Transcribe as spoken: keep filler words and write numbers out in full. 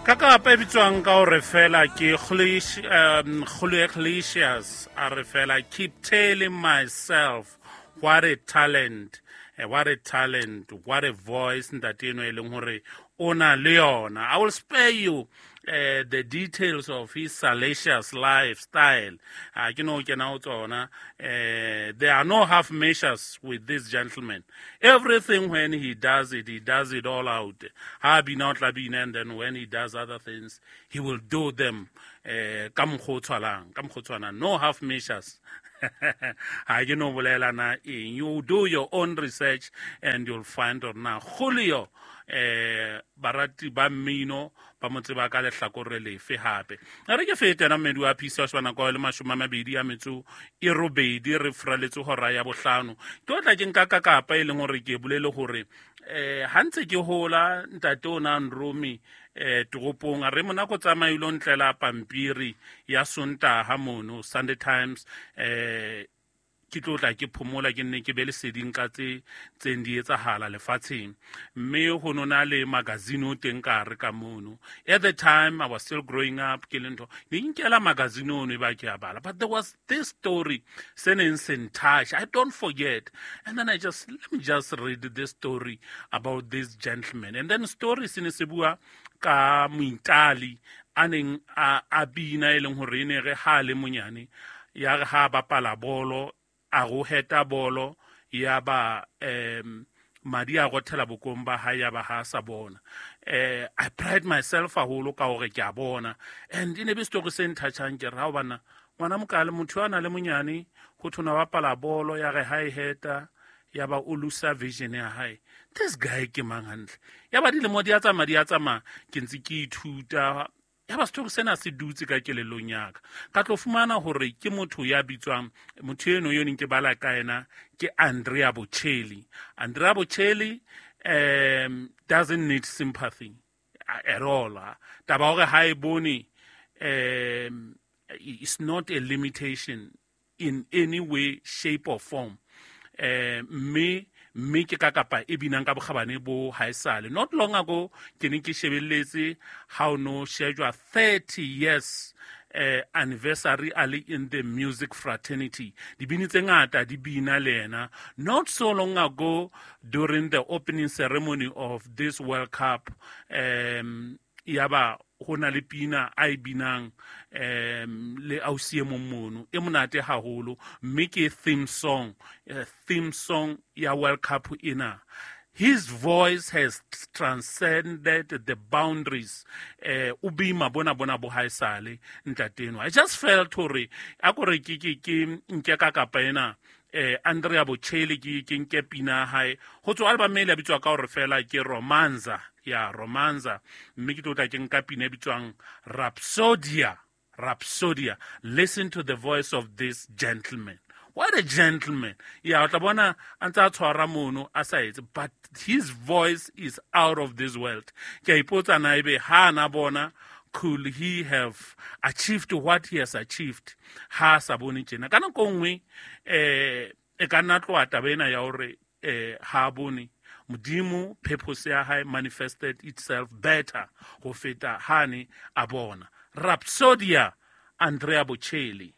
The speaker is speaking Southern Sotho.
Ka kapa e bitswang ka hore fela ke um Julio a re fela keep telling myself what a talent eh, what a talent what a voice ntate eno e leng hore o na le yona i will spare you uh, the details of his salacious lifestyle uh, ke no kena ho tsona uh, there are no half measures with this gentleman everything when he does it he does it all out ha bina o tla bina and then when he does other things he will do them uh, ka mokgwa o tshwalang ka mokgwa o tshwanang no half measures ha ke no bolela na eng you do your own research and you'll find hore na Julio eh barati ba mmino ba mo tseba ka lehlakore lefe hape a re ke fete ena mmedi wa phisa wa nako le mashome a mabedi a metso e robedi re furaletse hora ya bohlano ke o tla ke nka ka kapa e leng hore ke bolele hore eh ha ntse ke hola ntate o na nrome eh toropong a re monako tsamailo ntlela pampiri ya sontaha mono Sunday Times eh ke tlo tla ke phomola ke nne ke be leseding ka tse tseng di etsahala lefatsheng mme ho nona le magazine o teng ka hare ka mono at the time i was still growing up ke le ntho ne nkela magazine ono e ba ke a bala but there was this story se neng se ntouch i don't forget and then i just let me just read this story about this gentleman and then story se ne se bua ka moitali a neng a a bina e leng hore e ne re ha le monyane ya re ha bapala bolo a go heta bolo ya ba um madi a rothela bokong ba hae ya ba ha sa bona eh i pride myself haholo ka hore ke a bona and e ne be story se nthatjhang ke re ha o bana ngwana mokale motho a na le monyane ho thona bapala bolo ya re ha e heta ya ba o lusa vision ya hae this guy ke mang hantle ya ba dilemo di a tsamaya di a tsamaya ke ntse ke ithuta ya ba story sena se dutse ka kelellong ya ka ka tlo fumana hore ke motho ya bitswang motho eno yo neng ke bala ka ena ke Andrea Bocelli Andrea Bocelli um doesn't need sympathy at all taba hore ha e bone um it's not a limitation in any way shape or form eh mme mme ke ka kapa e binang ka bokgabane bo haesale not long ago ke ne ke shebelletse how no shejwa thirty years eh anniversary a le in the music fraternity dibini tse ngata di bina le yena not so long ago during the opening ceremony of this World Cup um yaba ho na le pina a e binang um le ausi e mong mono e monate haholo mme ke theme song uh, theme song ya World Cup ena his voice has transcended the boundaries eh o bima bona bona bo haesale ntateno i just felt hore a kore ke ke ke nke ka kapa ena eh Andrea Bocelli ke ke nke pina hae ho tswa album e le bitswa ka hore fela ke Romanza ya Romanza mme ke tlo tla ke nka pina e bitswang Rhapsodia Rhapsodia listen to the voice of this gentleman what a gentleman ya o tla bona a ntse a tshwara mono a sa etse but his voice is out of this world ke a ipotsa na ebe ha na bona could he have achieved what he has achieved ha sa bone tjena ka nako nngwe eh e ka nna tloha taba ena ya hore eh ha bone modimo purpose ya hae manifested itself better ho feta hane a bona Rhapsodia Andrea Bocelli